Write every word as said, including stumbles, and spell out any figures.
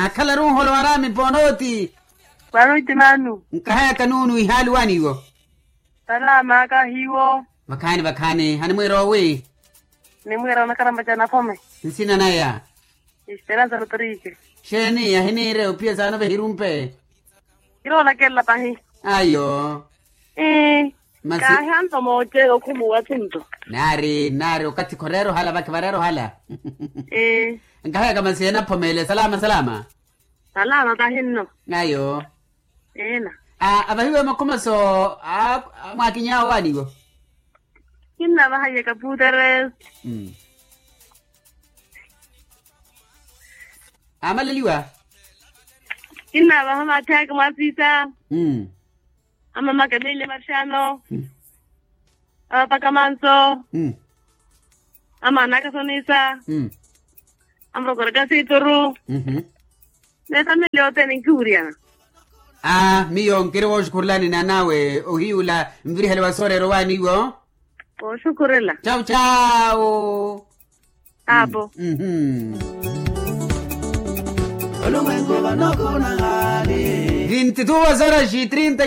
Akhalaru nholo waraami ponooti. Panooti manu. Nkahayaka nuunu ihaali waaniiwo. Salama kahiwo. Vakhaani vakhaani hanimwiira owi? Nimwiira onakarampa ca naphome. Nsina naya? Esperansa rotrike. Xeeni ahiniire opiya saano vehirumpe? Kiroolakelela pahi. Ayo. Masi. Kaahi anto mooce okhumuwa tunto. Naari naari okathi khoreera ohala vakhi vareera ohala. Nkahayaka masi enaphomeele salama salama. Salama pahi nno. Ayo. Eena. Avahiwe makhumaso a mwaakiny'awe waaniwo? Kinnavaha yekaputeres. Amaleliwa. Kinnavaha maatthayaka mwaasiisa. Amamaka meille marxano. Avapaka manso. Amaana akasonisa. Amurokora kasituru. N'efamili yothene nkiwuryana. Aa miyo nkiri wooxukhurelani n'anawe ohiyula nvirihele wa sooreera owaaniwo. Wooxukhurela. Cawu cawu. Apo. Vinti duas horas e trinta.